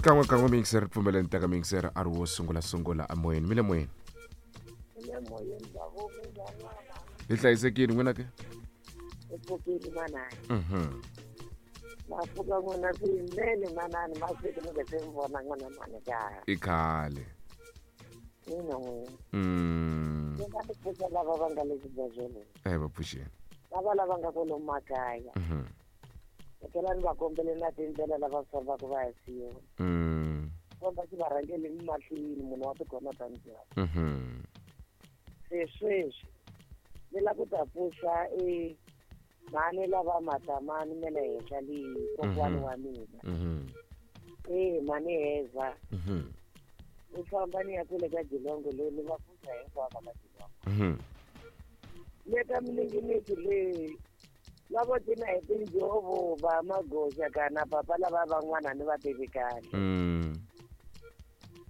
Xikan'we kan'we miyingiseri pfumeleni teka miyingiseri a ri wo sungula sungula emoyeni mi le moyeni. Le moyeni babo minjhani n'wana? Hi hlayisekile n'wina ke? Hi pfukile manani. Na pfuka n'wina swinene manani masiku mi nga se mi vona n'wana mani kaya. I khale. Ina n'wina. Ni nga ti pfuxa lava va nga le xibedhlele. Eh va pfuxeni. Lava lava nga kwalomu makaya. Ni va kombele na tindlela lava fambaka va ya siyoni. Komba xi va rhangele mahlweni munhu wa tikona ta njhani. Se sweswi ni la ku ta pfuxa e mhani lava matamani me le henhla leyi kokwani wa mina. E mhani heza. Ni famba ni ya kule ka Jilongo leyi ni va pfuxa hinkwavo ka Jilongo. Le ka mininginisi leyi lavo cina hi tinjhovo va magoxa kana papa lava van'wana ni va tivi kahle.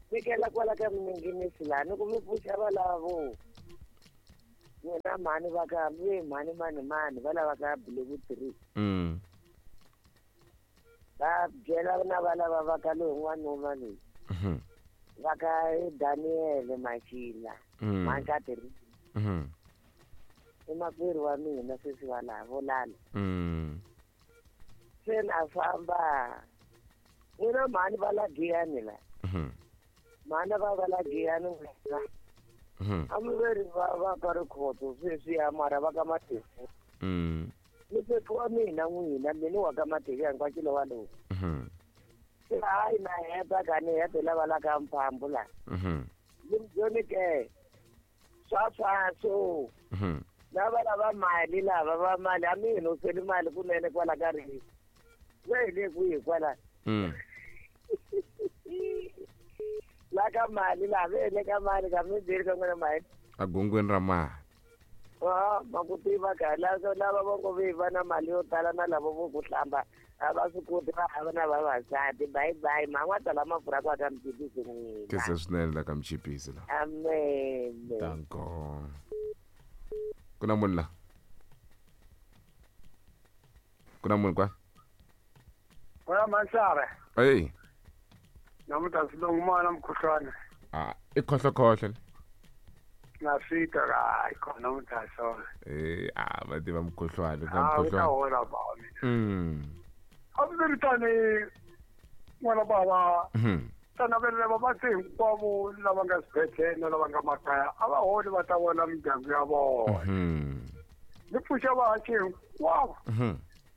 Fikela kwala ka mininginisi laha ni ku mi pfuxa valavo n'wina mhani va ka ve mhani mani mani va lava ka Blue 3. Va byela na va lava va ka loyi n'wanuna loyi. Va ka Daniel Machila. Mhani I makwerhu wa mina sweswi va laha vo lala. Se na famba n'wina mhani va la Giyani la. Mhani va la Giyani n'wina. A mi veri va ka Rikhotso sweswiya mara va ka Matefu. Ni sweswi wa mina n'wina mina wa ka Matefu ya hinkwakilo wa lowu. Se hayi na heta ka ni hete lava la ka Mphambu la. Ni ke swa swaso. Lava lava mali lava va mali a mi hinoseli mali kunene kwala ka ri. We hi le kwihi kwala? La ka mali la ve le ka mali ka mi byeli ka n'wina mali. A gongweni ra mali. Ah, ma ku tiva ka lava lava va ngo ve va na mali yo tala na lavo vo ku hlamba a va swi koti va hava na vavasati. Bye bye man'wa tala mafurha kwa ka mchipisi n'wina. Kese swinene la ka mchipisi la. Amen. Danko. Ku na munhu la? Ku na munhu kwa? Wena Mansara. Hey. Namuntlha ndzi lo n'wana mukhuhlwana. Ah, i khohlokhohle. Na fika hayi khona namuntlha swona. Eh, ah, va tiva mukhuhlwana, ka Ah, u ta mukhuhlwana. hola ba mina. A swi ri tani n'wana bava. Tana vele vavabyi hinkwavo lava nga swibedhlele na lava nga makaya a va holi va ta vona mindyangu ya vona. Ni pfuxa vahaxi hinkwavo.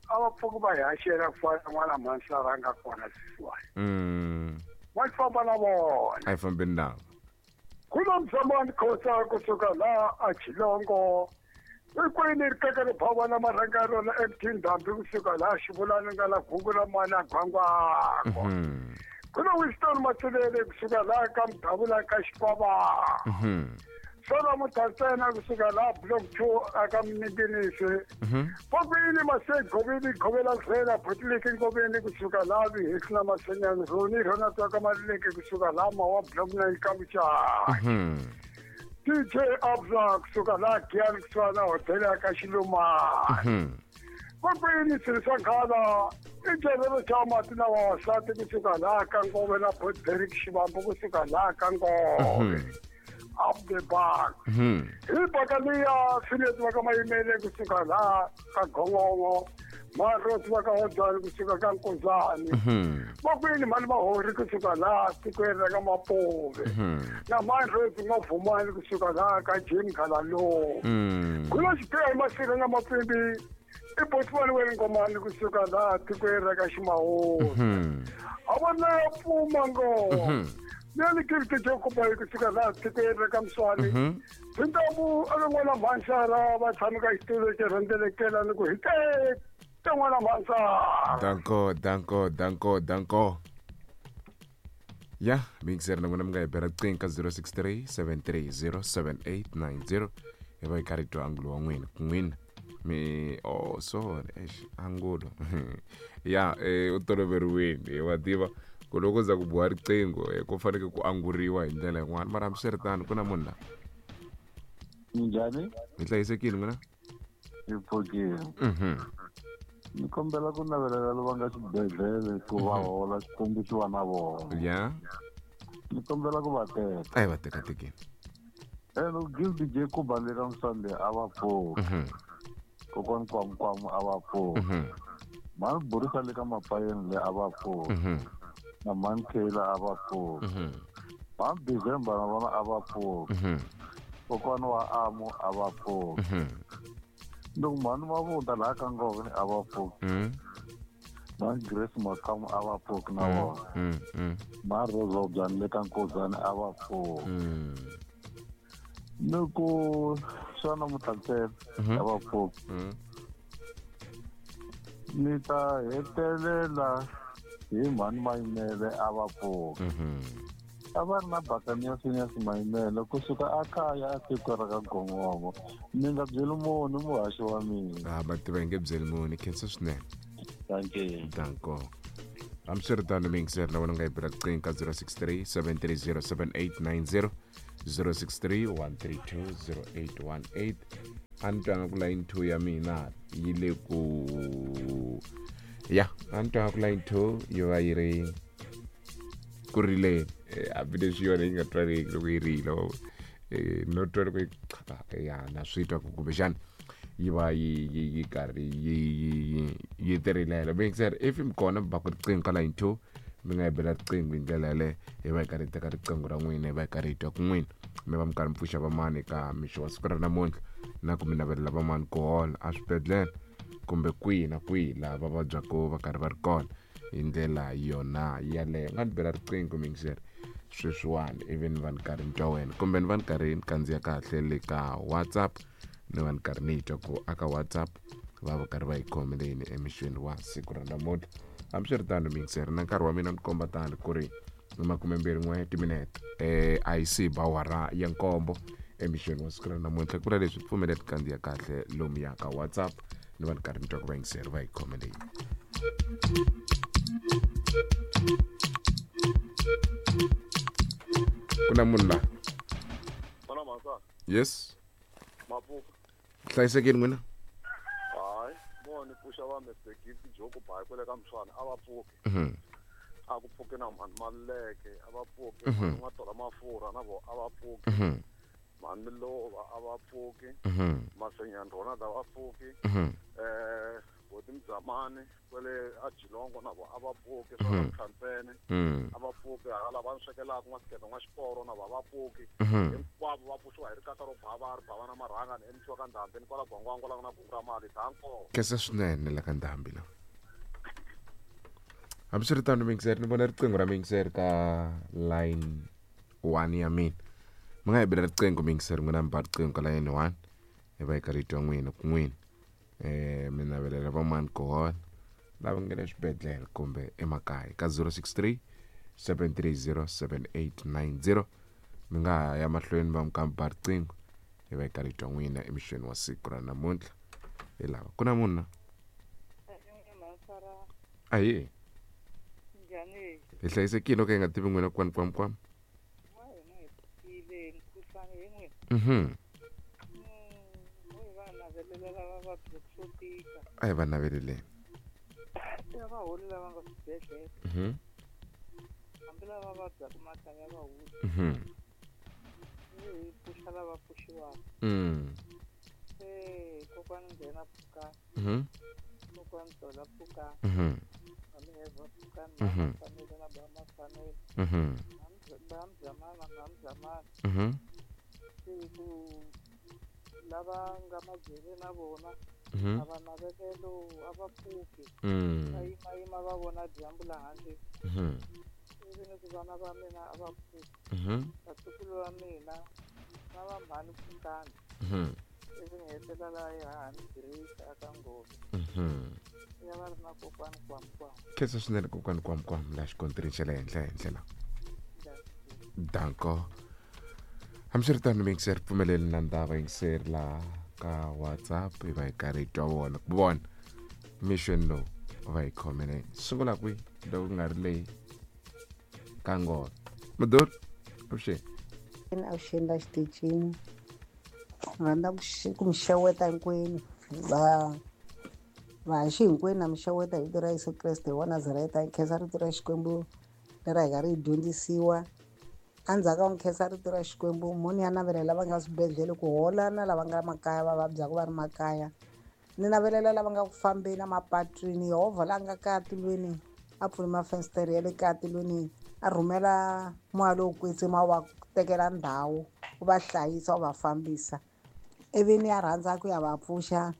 A va pfuki va hi haxela ku fana n'wana Mansara a nga kona sweswiwani. Va famba na vona. A yi fambeni navo. Ku na Mzamani Khosa kusuka laha a Chilongo. Ikwini rikeke ri phava na marhanga ya rona MT Ndhambi kusuka laha Xivulani nga la Gugu ra mani a Gwangwangwa. Ku na Winston Matsilele kusuka laha ka Mdavula ka Xikwava. Solo Mutantsena kusuka laha Block 2 aka Mninginisi. Vakwini Masegovini Govela Zela Butliki Ngoveni kusuka laha Vihisi na Masenyani Roni Rona Twaka Malileke kusuka laha Mawa Block 9 ka Muchaya. DJ Abza kusuka laha Giyani kusuka na hotela ya ka Xilumani. Vakwini Sirisa Nkhala i Jerero xa mati na vavasati kusuka laha ka Ngove na Port Derrick Xivambu kusuka laha ka Ngove. Up the back. Hi baka liya Phineas va ka Mayimele kusuka laha ka Gongongo. Maroti va ka Hodzani kusuka ka Nkozani. Vakwini mhani Mahori kusuka laha tikweni ra ka Mapove. Na Maroti N'wavhumani kusuka laha ka Jim Khalalo. Ku na xipiya hi masirha na mapfimbi i Botswana wa Ngomani kusuka laha tikweni ra ka Ximahori. A va na pfuma ngo. Nani kirti Jacob kusuka laha tikweni ra ka Mswani. Tintambu a ka n'wana Mansara va tshama ka xitulu xi rhendzelekela ni ku hi te n'wana Mansara. Danko, danko, danko, danko. Ya, mixer na n'wina mi nga hi bela riqingho ka 063 730 7890 hi va hi karhi hi twa angulo wa n'wina ku n'wina mi oh sorry eish angulo ya u toloveriwile wa tiva ku loko za ku biwa riqingho ku fanekele ku anguriwa hi ndlela yin'wana mara hambiswiritano ku na munhu la. Minjhani? Hi hlayisekile n'wina? Hi pfukile. Ni kombela ku navelela lava nga xibedhlele ku va hola Xikwembu xi va na vona. Ya. Ni kombela ku va teka. A hi va teka tekeni. Ene give DJ Kuba le ka Sunday a va pfuki. Kokwani Kwamukwamu a va pfuki. Mhani Burisa le ka Mapayeni le a va pfuki. Na mhani Taylor a va pfuki. Mhani December na vona a va pfuki. Kokwani wa Amu a va pfuki. Loko mhani Mavunda laha ka Ngove a va pfuki. Mhani Grace Makamu a va pfuki na vona. Mhani Rose Byani le ka Nkozani a va pfuki. Ni ku xana Mutlantsela a va pfuki. Ni ta hetelela hi mhani Mayimele a va pfuki. A va ri na Bakania Phineas Mayimele kusuka a kaya a tiko ra ka Gongomo. Ni nga byeli munhu muhaxi wa mina. A va tiva hi nge byeli munhu. Khensa swinene. Thank you. Danko. Hambiswiritano miyingiseri na wena u nga yi bela riqingho ka 063 730 7890 063 132 0818. A ni twanga ku line 2 ya mina yi le ku ya a ni twanga ku line 2 yi va yi ri ku rileni hambileswi yona yi nga twariki loko yi rila no twa loko yi ya na swi twa ku kumbexana yi va yi yi yi karhi yi yi yi yi tirilela. Miyingiseri if mi kona mi ba ku riqingho ka line 2 mi nga yi bela riqingho hi ndlela yaleyo hi va hi karhi hi teka riqingho ra n'wina hi va hi karhi hi twa ku n'wina mi va mi karhi mi pfuxa vamani eka mixo wa siku ra namuntlha na ku mi navelela vamani ku hola a swibedhlele kumbe kwihi na kwihi laha va vabyaka va karhi va ri kona hi ndlela yona yaleyo. Nga ni bela riqingho miyingiseri sweswiwani ivi ni va ni karhi ni twa wena kumbe ni va ni karhi ni kandziya kahle le ka WhatsApp ni va ni karhi ni twa ku aka WhatsApp va va karhi va yi khomeleni emixweni wa siku ra namuntlha. Hambiswiritano miyingiseri na nkarhi wa mina ni komba tani ku ri ni 21 timinete a yi si ba awara ya 7 emixweni wa siku ra namuntlha. Ku vula leswi pfumeleli kandziya kahle lomuya ka WhatsApp ni va ni karhi ni twa ku vayingiseri va yi khomeleni. Ku na munhu laha. Yes. Mapuka. Hlayisekeni n'wina? Hayi, mo ni pfuxa va Mr Gift Joko Bayi kwale ka Mswana a va pfuki. A ku pfuki na mhani Maluleke a va pfuki, mhani N'watola Mafurha na vo a va pfuki. Mhani Milova a va pfuki. Masenyani Ronald a va pfuki. Boti Mzamani kwale a Jilongo na vo a va pfuki, swa Mtlhantsene a va pfuki, hala va swekelaka N'wasikete N'waxiporo na vo a va pfuki. Hinkwavo va pfuxiwa hi rikata ro bava ri bava na marhanga ni emisiwa ka Ndhambi ni kwala Gwangwangwa la ku na gungu ra mali danko. Khensa swinene la ka Ndhambi la. Hambiswiritano miyingiseri ni vona riqingho ra miyingiseri ka line 1 ya mina. Mi nga hi bela riqingho miyingiseri n'wina mi ba riqingho ka line 1 hi va hi karhi hi twa n'wina ku n'wina mi navelela van'wani ku hola lava nga le swibedhlele kumbe emakaya ka 063 730 7890. Mi nga ha ya mahlweni va mi ka mi ba riqingho hi va hi karhi hi twa n'wina emixweni wa siku ra namuntlha. Hi lava ku na munhu na? Ahee. Hi hlayisekile ka hi nga tivi n'wina kwani kwam kwam. A hi va naveleleni. Lava nga majele na vona a va navelelo a va pfuki va yimayima va vona dyambu la handle ivi ni ku vana va mina a va pfuki vatukulu va mina na va mhani pfukani ivi ni hetelela yi hahani Grace aka Ngove ya va ri na kokwani Kwamkwam. Khensa swinene kokwani Kwamkwam la xikontirini xa le henhla henhla la. Danko. Hambiswiritano miyingiseri pfumeleli na ndava yingiseri la ka WhatsApp hi va hi karhi hi twa vona ku vona mixweni lowu va hi khomeleni. Sungula kwihi loko ku nga ri leyi ka Ngove. Mudori avuxeni. Avuxeni la xitichini. Rhandza ku mi xeweta hinkwenu va Vahaxi hinkwenu na mi xeweta hi vito ra Yesu Kreste wa Nazareta. Hi khensa rito ra Xikwembu leri hi karhi hi dyondzisiwa. Endzhaku ka ku khensa rito ra Xikwembu, mhani ya navelela lava nga swibedhlele ku hola na lava nga makaya va vabyaka va ri makaya. Ni navelela lava nga ku fambeni emapatwini, Yehovha la nga kaya tilweni a pfuli mafensitere ya le kaya tilweni, a rhumela moya lowo kwetsima wu va tekela ndhawu, wu va hlayisa, wu va fambisa. Ivi ni ya rhandza ku ya va pfuxa,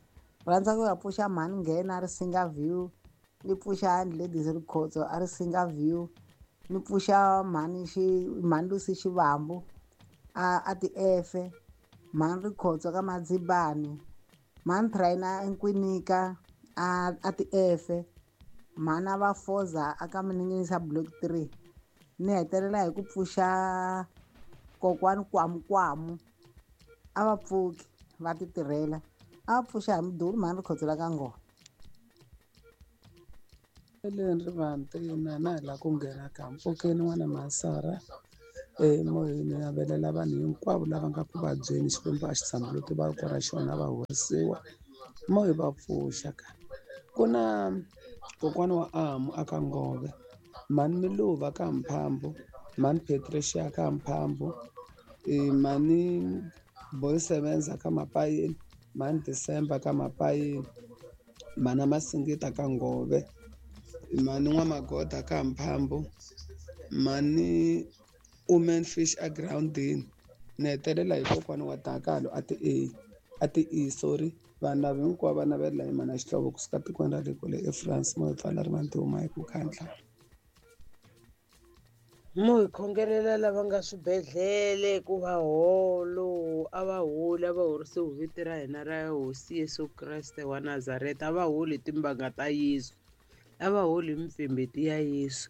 rhandza ku ya pfuxa mhani nghena a ri singa view, ni pfuxa ladies Rikhotso a ri singa view, ni pfuxa mhani xi mhani Lucy Xivambu a ti efe, mhani Rikhotso ka Madzibani, mhani Traina Nkwinika a ti efe, mhani a va Foza a ka Miningisa block 3. Ni hetelela hi ku pfuxa kokwani Kwamukwamu, a va pfuki va ti tirhela, a va pfuxa hi mudulu mhani Rikhotso la ka ngoma. Eleni Rivanti na na hi lava ku nghena ka mpfukeni n'wana Masara emoyeni, navelela vanhu hinkwavo lava nga ku vabyeni Xikwembu a xi tshambuluti voko ra xona va horisiwa moya va pfuxa ka ku na kokwana wa Amu aka Ngove, mhani Miluva ka Mphambo, mhani Patricia ka Mphambo, mhani Boy Sebenza ka Mapayeni, mhani December ka Mapayeni, mhani Masingita ka Ngove, mhani N'wamagoda ka Mphambo, mhani Woman Fish agirawundini. Ni hetelela hi kokwana wa Dakalo a ti A a ti E sorry. Vanhu lava hinkwavo va navelela hi mhana Xihlovo kusuka tikweni ra le kule eFrance. Mo hi pfala rivanti huma hi ku khandla. Mo hi khongelela lava nga swibedhlele ku va holo, a va holi, a va horisiwi hi vito ra hina ra Hosi Yesu Kreste wa Nazareta, a va holi hi timbanga ta Yesu, a va holi hi mipfembeti ya Yesu.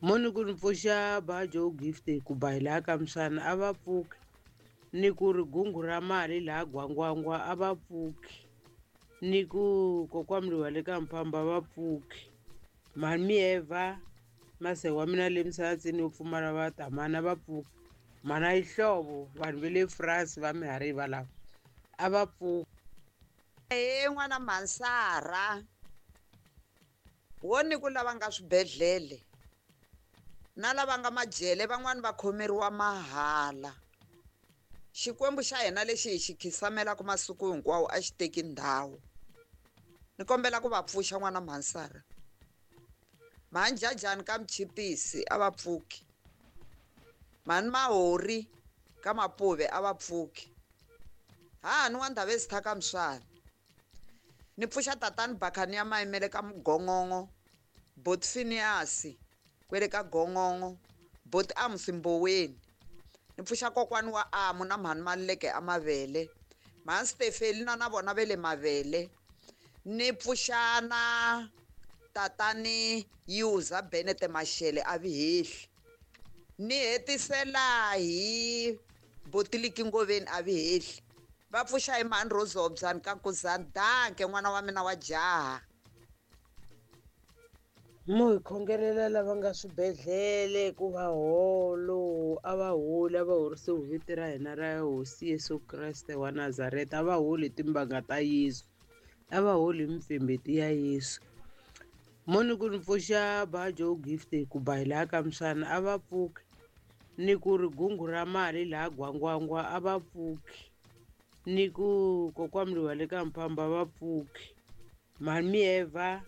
Mo ni ku ni pfuxa Bajo Gift ku ba hi laha ka Msana, a va pfuki. Ni ku ri gungu ra mali laha Gwangwangwa, a va pfuki. Ni ku kokwamliwa le ka Mphambo, a va pfuki. Mhani Mieva mase wa mina le misavatsini yo pfumala va tamana, va pfuki. Mhana Yihlovo vanhu va le France va mihariva lava a va pfuki. He n'wana Mansara, wo ni ku lava nga swibedhlele na lava nga majele van'wani va khomeriwa mahala. Xikwembu xa hina lexi hi xi khisamelaka masiku hinkwawo a xi teki ndhawu. Ni kombela ku va pfuxa n'wana Mansara. Mhani Jajani ka Mchipisi a va pfuki. Mhani Mahori ka Mapuve a va pfuki. Hahani wa Ndhavezitha ka Mswana. Ni pfuxa tatani Bakhani ya Mayimele ka Mugongongo, Boti Phineas kwele ka Gongongo, Boti Amusi Mboweni. Ni pfuxa kokwani wa Amu na mhani Maluleke a Mavele, mhani Stefelina na vona ve le Mavele. Ni pfuxa na tatani Yuza Benete Mashele a Vihehli. Ni hetisela hi Botiliki Ngoveni a Vihehli. Va pfuxa hi mhani Rosobyan ka Nkuzani. Danke n'wana wa mina wa jaha. Mo hi khongelela lava nga swibedhlele ku va holo, a va holi, a va horisiwi hi vito ra hina ra Hosi Yesu Kreste wa Nazareta, a va holi hi timbanga ta Yesu, a va holi hi mipfembeti ya Yesu. Mo ni ku ni pfuxa Bajo Gift ku ba hi laha ka Msana, a va pfuki. Ni ku ri gungu ra mali laha Gwangwangwa, a va pfuki. Ni ku kokwamliwa le ka Mphambo, a va pfuki. Mhani Mieva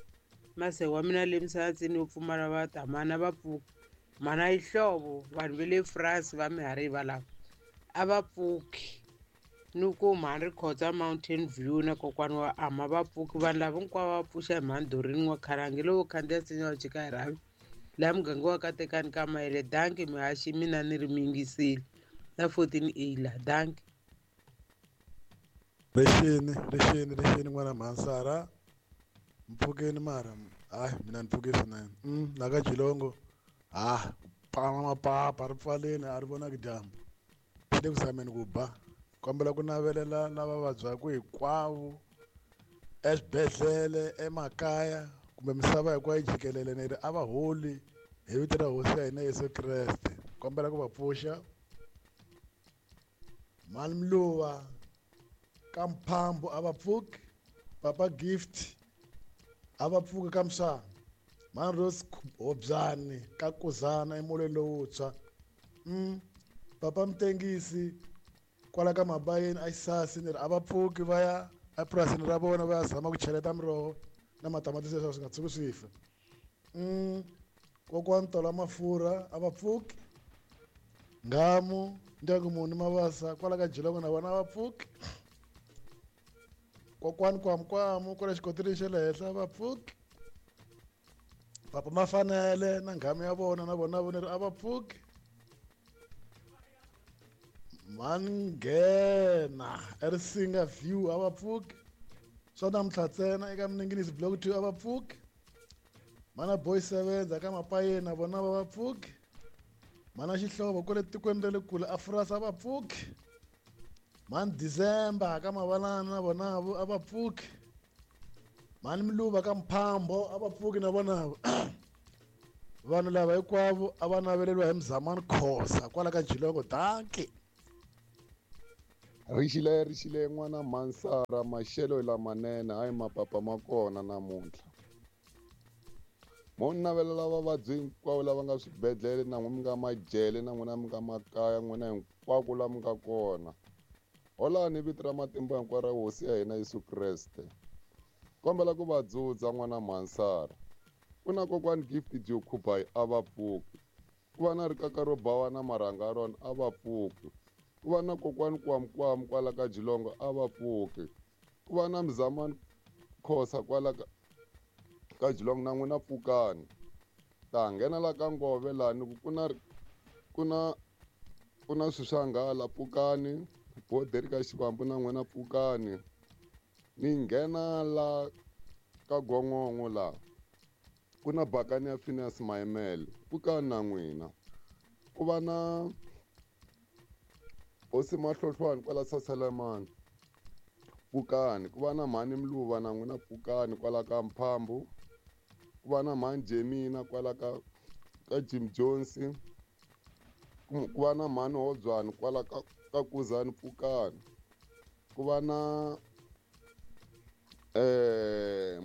mase wa mina le misavatsini yo pfumala va tamana, va pfuki. Mhana Yihlovo vanhu va le France va mihariva lava a va pfuki. Ni ku mhani Rikhotsa Mountain View na kokwani wa Ama va pfuki. Vanhu lava hinkwavo va pfuxa hi mhani Dorini wa Kharangi lowo khandziya nsinya wa jika hi rhavi laha muganga wa ka Tekani ka Mayele. Danke mihaxi mina ni ri miyingisile na 14 A la. Danke. Rixini rixini rixini n'wana Mansara, mpfukeni mara hayi mina ni pfuke swinene. La ka Jilongo ha pama mapapa ri pfaleni a ri vonaki dyambu, swi le ku zameni ku ba. Kombela ku navelela lava vabyaka hinkwavo eswibedhlele, emakaya kumbe misava hinkwayo jikelele, ni ri a va holi hi vito ra Hosi ya hina Yesu Kreste. Kombela ku va pfuxa Mhani Mluva ka Mphambo, a va pfuki. Papa Gift A va pfuki ka Msana. Mhani Rose Hobyani ka Kuzana emolweni lowuntshwa. Papa Mtengisi kwala ka Mabayeni a Xisasi ni ri a va pfuki va ya epurasini ra vona va ya zama ku cheleta miroho na matamatisi leswaku swi nga tshuki swi fa. Kokwani Tola Mafurha a va pfuki. Nghamu ndyangu muni Mavasa kwala ka Jilongo na vona a va pfuki. Kokwani Kwamukwamu kwala xikoteleni xa le henhla a va pfuki. Papa Mafanele na nghamu ya vona na vona voneri a va pfuki. Manghena eRisinga View a va pfuki. Swa namuntlha ntsena eka Minenginisi Block 2 a va pfuki. Mana Boy Sevenza ka Mapayeni na vona va va pfuki. Mana Xihlovo kwale tikweni ra le kule a Furasa a va pfuki. Mani December ka Mavalana na vona a va pfuki. Mani Miluva ka Mphambo a va pfuki na vona. Vanhu lava hinkwavo a va naveleriwa hi Mzamani Khosa kwala ka Jilongo. Dankie. Rixile n'wana Mansara, maxelo lamanene hayi mapapa ma kona namuntlha. Mo navelela vavabyi hinkwavo lava nga swibedhlele na n'wina mi nga majele na n'wina mi nga makaya n'wina hinkwako la mi nga kona. Holani vito ra matimba hinkwaro ra Hosi ya hina Yesu Kreste. Kombela ku va dzudza n'wana Mansara. Ku na kokwani Gift Jokhubai a va pfuki. Ku va na rikaka ro bawa na marhanga ya rona a va pfuki. Ku va na kokwani Kwamukwamu kwala ka Jilongo a va pfuki. Ku va na Mzamani Khosa kwala ka Jilongo na n'wina pfukani. Ta nghena la ka Ngove lani ku na swilo swa nghala pfukani. Boderi ka Xivambu na n'wina pfukani. Ni nghena la ka Gongongo la ku na bakani ya Phineas Maimele pfukani na n'wina. Ku va na Hosi Mahlohlwani kwala Sasalamani pfukani. Ku va na Mhani Mluva na n'wina pfukani kwala ka Mphambu. Ku va na Mhani Jemina kwala ka Jim Jones. Ku va na Mhani Hobyani kwala ka Kuzani pfukani. Ku va na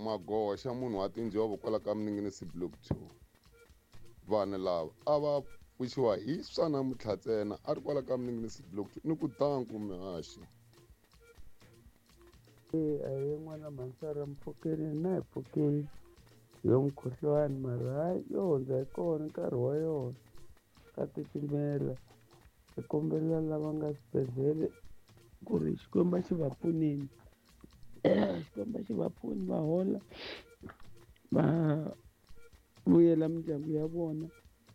Magoxa munhu wa tinjhovo kwala ka Minenginisi Block 2. Vanhu lava a va pfuxiwa hi swa namuntlha ntsena a ri kwala ka Minenginisi Block 2 ni ku danku mihaxi. Ahe n'wana Mansara, mpfukeni na hi pfukeni yo mukhuhlwani mara hayi yo hundza hi kona nkarhi wa yona ka titimela. Hi kombela lava nga swibedhlele ku ri Xikwembu xi va pfunile. Xikwembu xi va pfuni va hola va vuyela mindyangu ya vona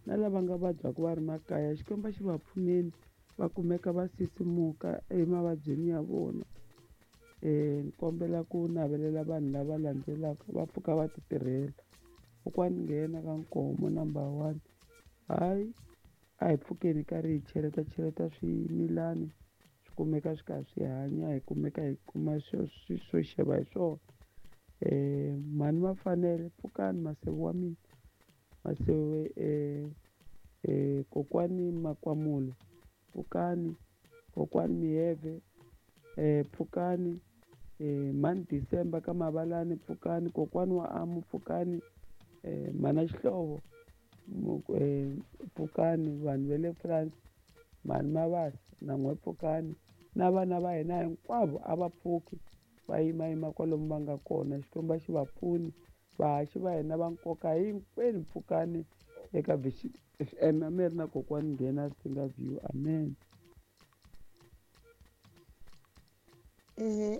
na lava nga vabyaka va ri makaya Xikwembu xi va pfuneni va kumeka va sisimuka emavabyini ya vona. Ni kombela ku navelela vanhu lava landzelaka va pfuka va ti tirhela. Kokwani nghena ka Nkomo number 1. Hayi a hi pfukeni karhi hi cheleta swimilani swi kumeka swi karhi swi hanya, hi kumeka hi kuma swo xeva hi swona. Mhani Mafanele pfukani, masewu wa mina masewu, kokwani Makwamulo pfukani, kokwani Miheve pfukani, Mhani December ka Mavalani pfukani, kokwani wa Amu pfukani, Mhana Xihlovo pfukani, vanhu va le France, Mhani Mavasa na n'we pfukani, na vana va hina hinkwavo a va pfuki va yimayima kwalomu va nga kona. Xikwembu xi va pfuni, vahaxi va hina va nkoka hinkwenu pfukani eka Vision FM. A mi ri na kokwani nghena Singa View. Amen.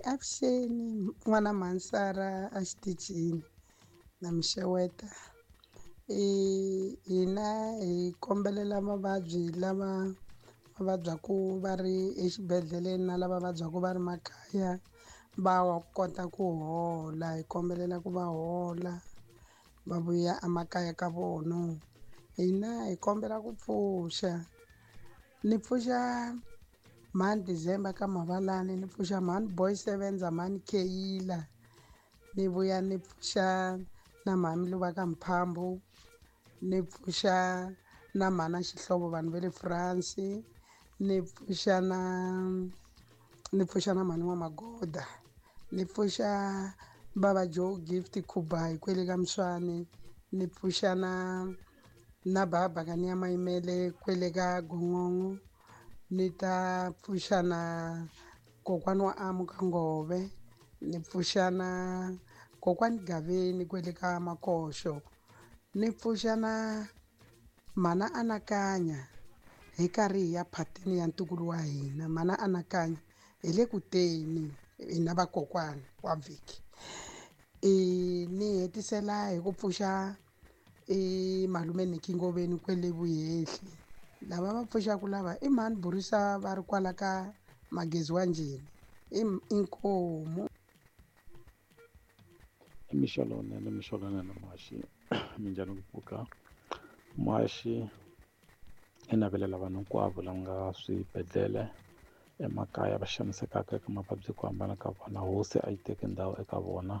Avuxeni n'wana Mansara a xitichini na mixeweta. Hina hi kombelela mavabyi lava va vabyaku va ri exibedhlele na lava vabyaka va ri makaya va kota ku hola. Hi kombelela ku va hola va vuya emakaya ka vona. Hina hi kombela ku pfuxa, ni pfuxa Mhani December ka Mavalani, ni pfuxa Mhani Boy Sevenza, Mhani Keyila, ni vuya ni pfuxa na Mhani Luva ka Mphambu, ni pfuxa na Mhana Xihlovo vanhu va le France, ni pfuxa na Mhani wa Magoda, ni pfuxa Baba Joe Gift Khubayi kwele ka Mswane, ni pfuxa na baba ka ni ya Mayimele kwele ka Gongongo, ni ta pfuxa na kokwana wa Amu ka Ngove, ni pfuxa na kokwani Gaveni kwele ka Makoxo, ni pfuxa na mana Anakanya hi karhi hi ya phatini ya ntukulu wa hina. Mana Anakanya hi le ku teni hina vakokwana wa vhiki. Ni hetisela hi ku pfuxa malume Nicky Ngoveni kwele Vuhehli. Lava va pfuxaka lava i mhani Burisa va ri kwala ka Magezi wa Njhini, i inkomu. I mixo lowunene, mixo lowunene muhaxi, minjhani ku pfuka muhaxi. I navelela vanhu hinkwavo lava nga swibedhlele emakaya va xanisekaka eka mavabyi ku hambana ka vona, hosi a yi teki ndhawu eka vona.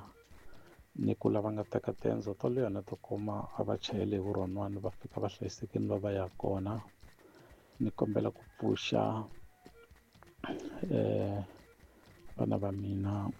Ni ku lava nga teka tendzo to leha na to koma a va chayeli hi vurhonwani va fika va hlayisekile va va ya kona. Ni kombela ku pfuxa vana va mina.